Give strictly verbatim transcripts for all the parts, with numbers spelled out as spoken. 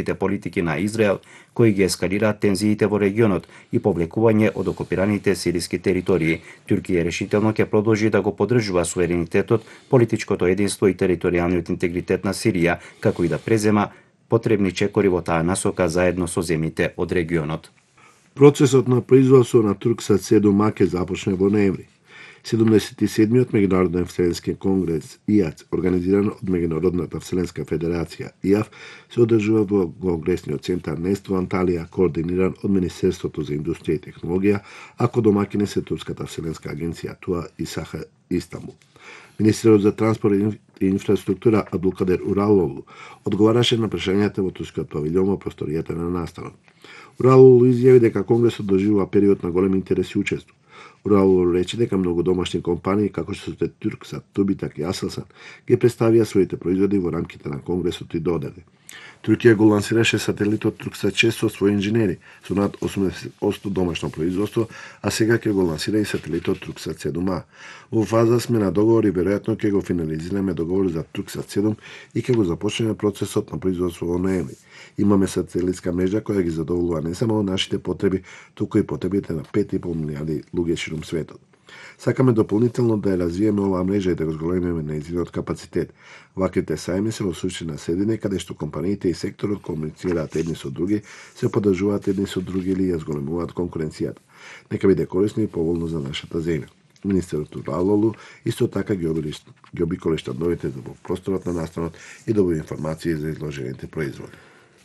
политики на Израел, кои ги ескалираат тензиите во регионот и повлекување од окупираните сириски територии. Туркија решително ќе продолжи да го поддржува суверенитетот, политичкото единство и територијалниот интегритет на Сирија, како и да презема потребни чекори во таа насока заедно со земјите од регионот. Процесот на производство на Турксат седум ќе започне во ноември. седумдесет и седмиот меѓународен вселенски конгрес И А Ц, организиран од Меѓународната вселенска федерација И А Ф, се одржува во конгресниот центар Нест во Анталија, координиран од Министерството за индустрија и технологија, ако домаќини се Турската вселенска агенција ТУА и Саха Истанбул. Министерот за транспорт и инфраструктура Абдулкадер Уралоглу одговараше на прашањата во турскиот павилјон во просторијата на настанот. Уралоглу изјави дека конгресот доживува период на голем интерес и учество. Уралоглу рече дека многу домашни компании, како што се Турксат, Тубитак и Асселсан, ги представија своите производи во рамките на конгресот и додаде. Туркија го лансираше сателитот Турксат шест со своји инженери, со над осумдесет одсто домашно производство, а сега ќе го лансира и сателитот Турксат седум А. Во фаза сме на договор и веројатно ќе го финализираме договор за Турксат седум и ќе го започнеме процесот на производство во ноември. Имаме сателитска мрежа која ги задоволува не само нашите потреби, туку и потребите на пет и пол милијарди луѓе ширум светот. Сакаме дополнително да ја развиеме оваа мрежа и да го зголемиме нејзиниот капацитет. Ваквите сајми се во суштина седини каде што компаниите и секторот комуницираат едни со други, се поддржуваат едни со други или ја зголемуваат конкуренцијата. Нека биде корисно и поволно за нашата земја. Министерот Уралоглу исто така ги обиколи штандовите во просторот на настанот и добива информации за изложените производи.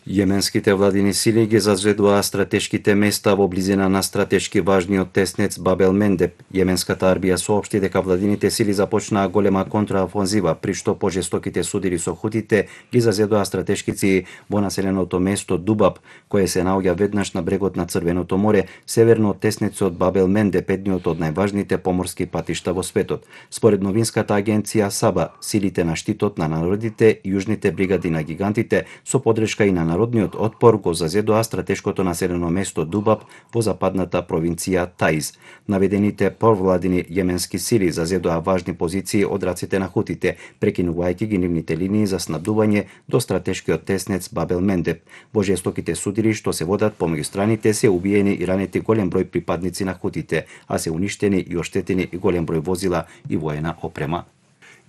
Јеменските владини сили ги зазредуваа стратешките места во близина на стратешки важниот теснец Бабел Мендеб. Јеменската армија соопшти дека владините сили започнаа голема контраофанзива, при што пожестоките судири со хутите ги зазредуваа стратешкици во населеното место Дубаб, кое се наоѓа веднаш на брегот на Црвеното море, северно од теснецот Бабел Мендеб, едниот од најважните поморски патишта во светот. Според новинската агенција Саба, силите на штитот на народите, јужните бригади на гигантите, со подршка и на народниот отпор го зазедоа стратешкото населено место Дубаб во западната провинција Таиз. Наведените провладини јеменски сили зазедоа важни позиции од раците на хутите, прекинувајќи ги нивните линии за снабдување до стратешкиот теснец Бабел Мендеб. Во жестоките судири што се водат помеѓу страните се убиени и ранети голем број припадници на хутите, а се уништени и оштетени и голем број возила и воена опрема.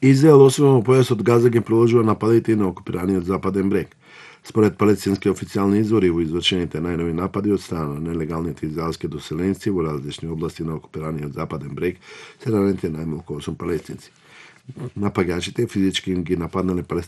Израел освен во појасот Газа ги продолжува нападите и на окупираниот западен брег. Според палестински официјални извори, во извршените најнови напади од страна на нелегалните израелски доселенци во различни области на окупираниот западен брег се ранети најмалку осум палестинци. Напаѓачите физички ги нападнале